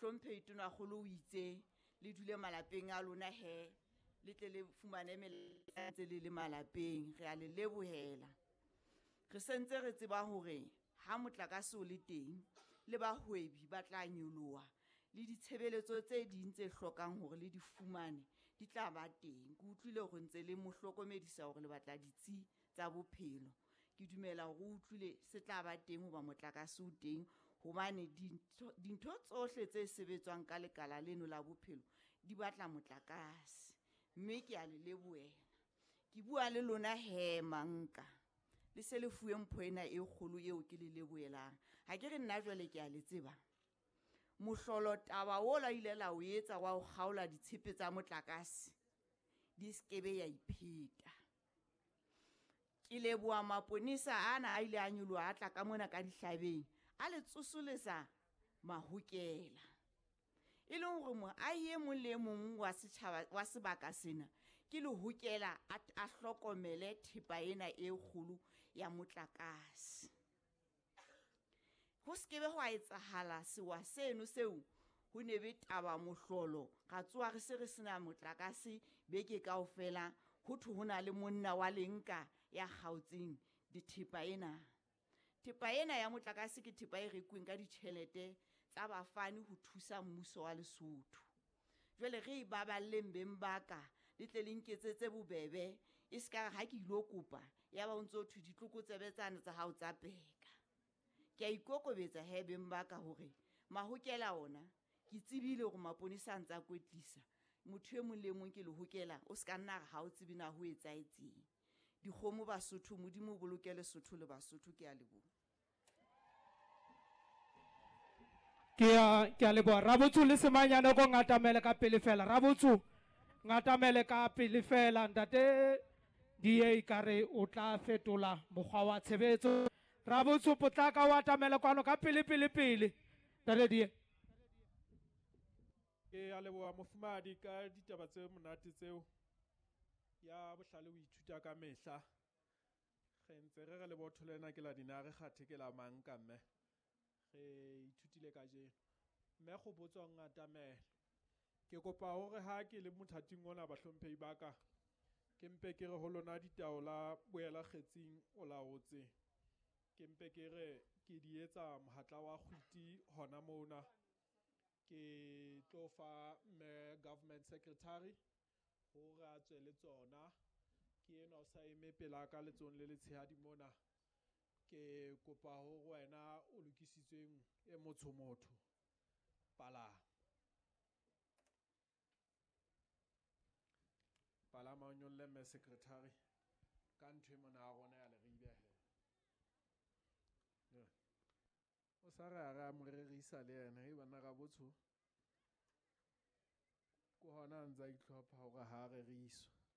Mohlomphehi Tonakgolo o itse le dule malapeng a lona he, le tle le fumane melaetsa ntse le le malapeng. Re a le lebohela. Re sentse re tseba hore ha motlakase o le teng, le bahwebi ba tla nyoloha, le ditshebeletso tse ding tse hlokang hore le di fumane di tla ba teng. Ke utlwile hore ntse le mo hlokomedisa hore le batla ditsi tsa bophelo. Ke dumela hore o utlwile se tla ba teng hoba motlakase o teng, hobane dintho tsohle tse sebetswang ka lekala leno la bophelo di batla motlakase. Mme ke a le lebohela. Ke bua le lona he manka, le se le fuwe mpho ena e kgolo eo ke le lebohelang. Ha ke re nna jwale ke a le tseba. Mohlolo taba o la ile la o etsa wa ho kgaola ditshepe tsa motlakase di skebe ya ipheta. Ke leboha maponesa ana a ile a nyoloha a tla ka mona ka dihlabeng, a le tsosolesa mahokela. E leng hore moahi e mong le e mong wa setjhaba wa sebaka sena ke lehokela a hlokomele thepa ena e kgolo ya motlakase. Ho skebe hwa etsahala sewa seno seo ho ne be taba mohlolo, ra tsoha re se re sena motlakase beke kaofela, ho thwe ho na le monna wa lenka ya kgaotseng dithepa ena. Thepa ena ya motlakase ke thepa e rekuweng ka ditjhelete tsa bafani ho thusa mmuso wa Lesotho. Jwale re e baballeng beng ba ka, le tle le nketsetse bobebe, e ska re ha ke ilo kopa ya ba o ntso thwe ditlokotsebe tsane tsa hao tsa peka. Ke a ikokobetsa he beng ba ka hore mahokela ona ke tsebile hore maponesa a ntse a kwetlisa. Motho e mong le mong ke lehokela, o ska nna re ha o tsebe na ho etsahetseng. Dikgomo Basotho, Modimo o boloke Lesotho le Basotho, ke a leboha. Ke a leboha. Rabotso le Semanyane ko ngatamele ka pele fela. Rabotso ngatamele ka pele fela. Ntate DA kare o tla fetola mokgwa wa tshebetso. Rabotso potlaka o atamele kwano ka pele pele pele. Ntate DA. Ke a leboha mofumahadi ka ditaba tse monate tseo. Ya bohlale o ithuta ka mehla. Re ntse re re lebotho lena ke la dinare kgathe ke la mang ka mme. Re ithutile kajeno. Mme go botswa ngatamela. Ke kopa hore ha ke le mothating ona bahlomphehi ba ka, ke mpe ke re ho lona ditaola boela kgetsing o laotse. Ke mpe ke re ke di etsa mohatla wa kgwiti hona mona. Ke tlo fa mme government secretary hore a tswe le tsona. Ke enwa o sa eme pela ka letsohong le letshehadi mona. Ke kopa hore wena o lokisitsweng e motsho motho. Palama. Palama o nyolle mme secretary ka ntho e mona ya rona ya Leribe he. O sa re a re a mo rerisa le yena, hei banna Rabotsho. Ke hona a ntse a itlhopha hore ha a reriswa.